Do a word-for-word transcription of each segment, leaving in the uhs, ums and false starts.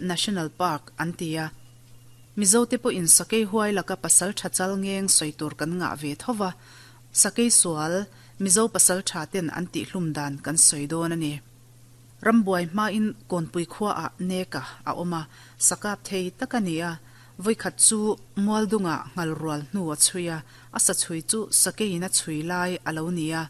National Park an ti a. Mizote pawhin sakei huai laka pasaltha chal ngeng sawi tur kan ngah ve tho va, sakei sual Mizo pasaltha ten an tihhlum dan kan sawi dawn a ni. Rambuai hmain Kawnpui khuaah Neka a awm a, sakap thei tak a ni a. Vawikhat chu Mualdungah nghalrual hnu a chhui a, a sa chhui chu sakeiin a chhui lai a lo ni a.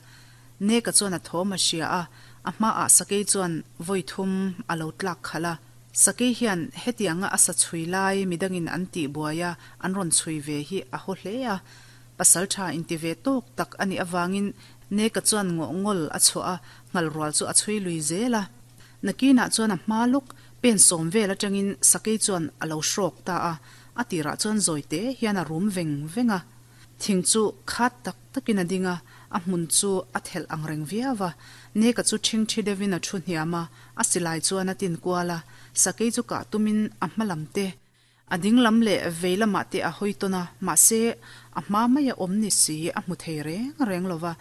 Neka chuan a thawm a hria a, a hmaah sakei chuan vawi thum a lo tlak khalh a. Sakei hian hetianga a sa chhui lai midangin an tih buai a, an rawn chhui ve hi a haw hle a. Pasal tha inti ve tawk tak a nih avangin Neka chuan ngawhngawl a chhuah a, nghalrual chu a chhui lui zel a. Nakinah chuan a hma lawk pen sawm vel atangin sakei chuan a lo hrawk ta a, a tirah chuan zawi te hian a rum veng veng a. Thing chu khat tak takin a ding a, a hmun chu a thelh ang reng viau a. Neka chu ṭhingṭhi deuhin a ṭhu hniam a, a silai chuan a tin kual a, sakei chu kah tumin a hma lam te, a ding lam leh vei lamah te a hawi tawn a, mahse a hma maia awm ni si a hmu thei reng reng lo va.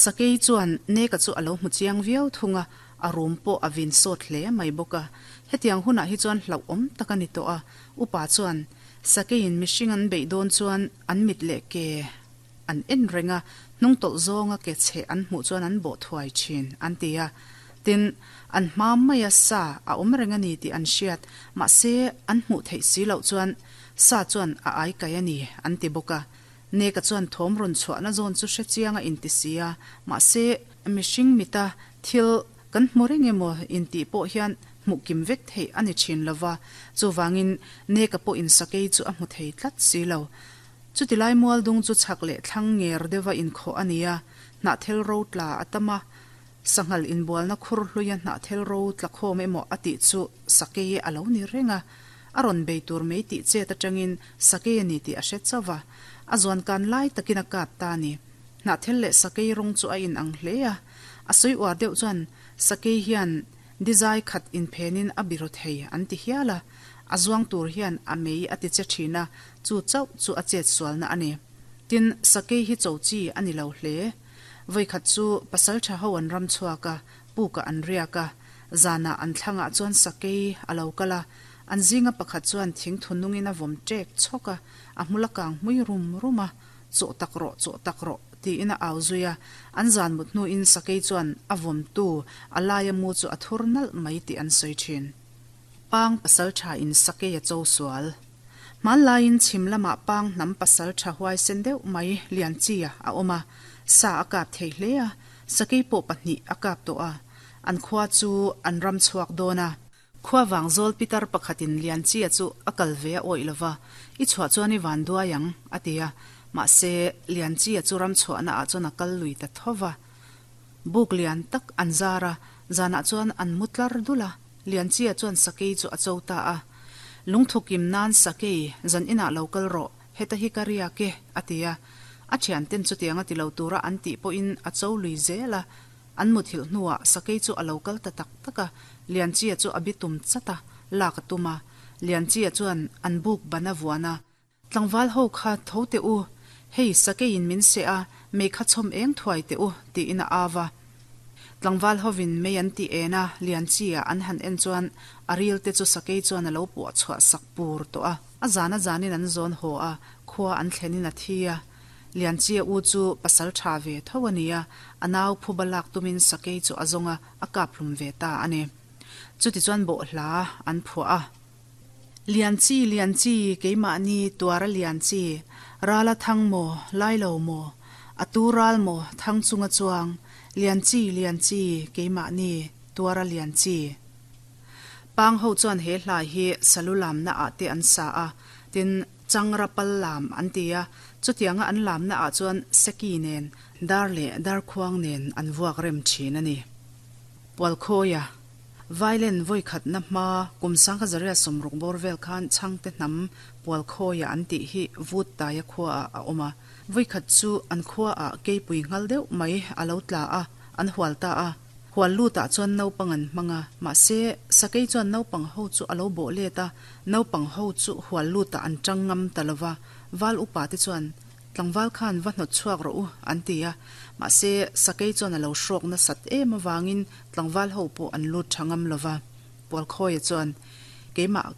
Sakei chuan Neka chu a lo hmu chiang viau thung a, a rum pawh a vin sawt hle mai bawk a. Hetiang hunah hi chuan hlauhawm tak a ni tawh a, upa chuan Sakeiin mihring an beih dawn chuan an mit leh ke an en reng a, hnungtawlh zawnga ke chheh an hmuh chuan an bawh thuai thin, an ti a. Tin, an hma maia sa a awm reng a ni tih an hriat, mahse an hmuh theih si loh chuan sa chuan a ai kai a ni, an ti bawk a. Neka chuan thawm rawn chhuahna zawn chu hre chiang a inti si a, mahse mihring mita thil kan hmu reng emaw intih pawh hian hmuh kim vek theih a ni thin lo va, chuvangin Neka pawhin sakei chu a hmu thei tlat si lo. Chutilai mualdung chu chhak leh thlang nger deuha inkhawh a ni a, hnahthel ro tla a tam a, sanghal inbualna khur hluia hnahthel ro tla khawm emaw a tih chu sakei a lo ni reng a, a rawn bei tur mai tih chet atangin sakei a ni tih a hre chauh va, a zuankan lai takin a kap ta a ni. Hnahthel leh sakei rawng chu a inang hle a, a sawi uar deuh chuan sakei hian dizai khat inphenin a biru thei an ti hial a, a zuang tur hian a mei a ti che thin a, chu chauh chu a chet sualna a ni. Tin, sakei hi cho chi a ni lo hle. Vawikhat chu pasal tha ho an ram chhuak a, pukah an riak a, zanah an thlangah chuan sakei a lo kal a, an zinga pakhat chuan thingthu nungin a vawm ṭek chhawk a, a hmul a kang hmui rum rum a, Chawh tak rawh, chawh tak rawh, tiin a au zui a. An zan mut hnuin sakei chuan a vawmtu a laia mu chu a thur nalh mai tih an sawi thin. Pang pasal thain sakei a cho sual. Hmanlaiin chhim lamah pang hnam pasal tha huaisen deuh mai Lianchia a awm a, sa a kap thei hle a, sakei pawh pahnih a kap tawh a. An khua chu an ram chhuak dawn a. Khua vang zawl pitar pakhatin Lianchia chu a kal ve a awih lova, I chhuah chuan i van duai ang, a ti a. Mahse, Lianchia chu ram chhuahna ah chuan a kal lui ta tho va. Buk lian tak an zar a, zanah chuan an mu tlar dul a, Lianchia chuan sakei chu a cho ta a. Lungthu kim nan sakei, zan inah lo kal rawh, heta hi ka riak e, a ti a. A thianten chutiang a ti lo tura an tih pawhin a cho lui zel a. An muthilh hnuah sakei chu a lo kal ta tak tak a, Lianchia chu a bitum chat a, lak a tum a. Lianchia chuan an buk ban a vuan a. Tlangval ho kha tho teh u, hei sakeiin min seh a, mei kha chhawm eng thuai teh u, tiin a au a. Tlangval hovin mei an tih en a, Lianchia an han en chuan a ril te chu sakei chuan a lo puah chhuah sak pur tawh a. A zan a zanin an zawn haw a, khua an thlenin a thi a. Lianchia u chu pasal tha ve tho a ni a, a nau phuba lak tumin sakei chu a zawng a, a kap hlum ve ta a ni. Chutichuan bawhhla an phuah a. Lianchi, Lianchi, keimahni tuara Lianchi, rala thang maw, lai lo maw, a tu ral maw, thang chunga chuang, Lianchi, Lianchi, keimahni tuara Lianchi. Pang ho chuan he hla hi salu lamna ah te an sa a, tin, Changra pal lam an ti a, chutianga an lamna ah chuan seki nen, dar leh darkhuang nen an vuak rem thin a ni. Pualkhawia, Vailen vawikhatna hma kum sangkha zaria sawmruk bawr vel khan Chhangte hnam Pualkhawia an tih hi Vut Taia khua ah a awm a. Vawikhat chu an khua ah keipui nghal deuh mai a lo tla a, an hual ta a. Hual lutah chuan naupang an hmang a, mahse sakei chuan naupang ho chu a lo bawh let a, naupang ho chu hual lutah an tang ngam ta lo va, val upa te chuan tlangval khan va hnawt chhuak rawh u an ti a, mahse sakei chuan a lo hrawk nasat em avangin tlangval ho pawh an lut tha ngam lo va. Pualkhawia chuan, Keimah